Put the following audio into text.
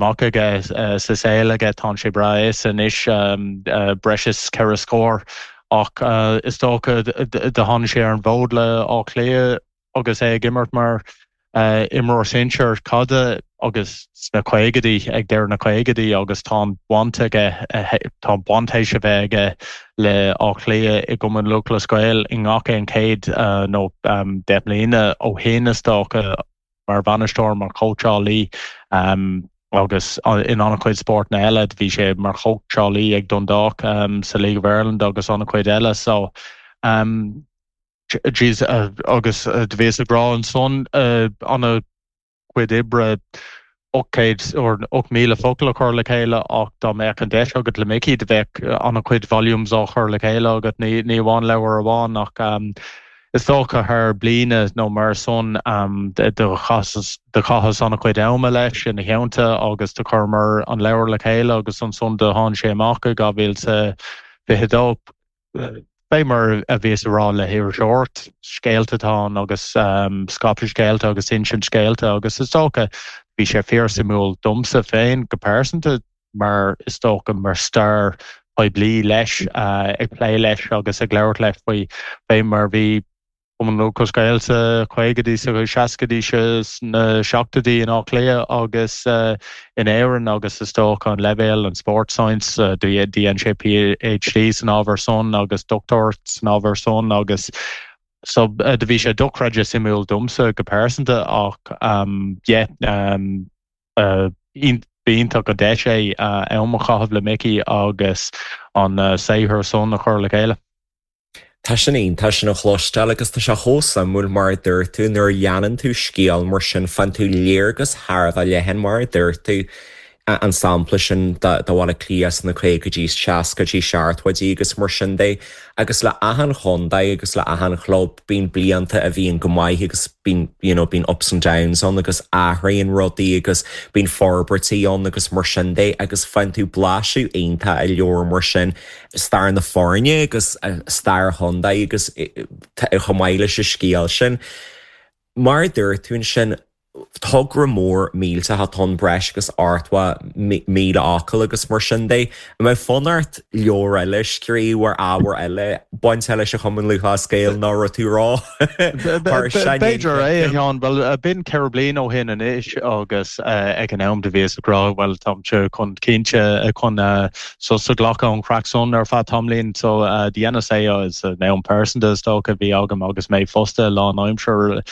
Amach aige sa saol aige, tánn sé breá aosta anois, breis is ceithre scór, ach is dócha do tháinig sé ar an bhfód le Áth Cliath agus é ag imirt mar imreoir sinsear caide agus sna caogaidí, ag deireadh na caogaidí agus tá an baint aige, tá baint théis a bheith aige le Áth Cliath i gCumann Lúthchleas Gael i ngach aon chéad nó 10 mbliana ó shin is dócha. mar bhainisteoir, mar chóitseálaí agus in an-chuid spórtanna eile. Bhí sé mar chóitseálaí ag Dundalk sa League of Ireland agus an-chuid eile. So, jeez, agus do bhíos ag rá ansan an-chuid oibre 800 or 8,000 focal a chur le chéile ach dá mbeadh an deis agat le Mickey do bheadh an-chuid volumes á chur le chéile agat, ní amháin leabhar amháin ach Is dócha thar bliana nó mar san do chaitheas an-chuid ama leis ina theannta agus do chuireamar an leabhar le chéile agus ansan do tháinig sé amach i 2022. Fé mar a bhíos a rá le hiriseoireacht, scéalta atá ann agus scaipeadh scéalta agus insint scéalta agus is dócha bhí sé fíorsuimiúil domsa féin go pearsanta mar is dócha mar stair poiblí leis, ag plé leis agus ag labhairt leis faoi fé mar bhí Cumann Lúthchleas Gael sa chaogaidí, sa seascaidí, sna seachtóidí in Áth Cliath agus in Éirinn agus is dócha an leibhéal, an sport science, dhein sé PhD san ábhar san agus dochtúireacht san ábhar san agus so do bhí sé dochreidte suimiúil domsa go pearsanta ach yeah. B'iontach an deis é am a chaitheamh le Mickey agus an saothar san a chur le chéile. Tá sin iontach sin a chloisteáil agus tá sé chomh suimiúil mar a dúirt tú, nuair a leanann tú scéal mar sin faigheann tú léargas thar a bheith leathan mar a dúirt tú, an sampla sin de Bhaile Átha Cliath sna caogaidí, seascaidí, seachtóidí agus mar sin de agus le achan chontae agus le achan chlub bíonn blianta a bhíonn go maith agus bíonn you know bíonn ups and downs ann agus athraíonn rudaí agus bíonn forbairtí ann agus mar sin de agus faigheann tú blaiseadh iontach i leabhar mar sin stair na foirne agus stair an chontae agus chomh maith leis an scéal sin. Mar a dúirt tú ansin, togra mór millteach atá ann, breis agus 80,000 fhocal agus mar sin de. An mbeadh fonn ort leabhar eile a scríobh ar ábhar eile bainteach leis an Chumann Lúthchleas Gael nó raibh tú ró B'fhéidir é, a Sheáin. Bhuel, b'in ceithre bliana ó shin anois agus ag an am do bhíos ag rá, bhuel, táimse chun cinnte chun sos a ghlacadh ón chraic san ar feadh tamaillín. So, dheineas é san am pearsanta is dócha a bhí agam agus mé fostaithe lánaimseartha.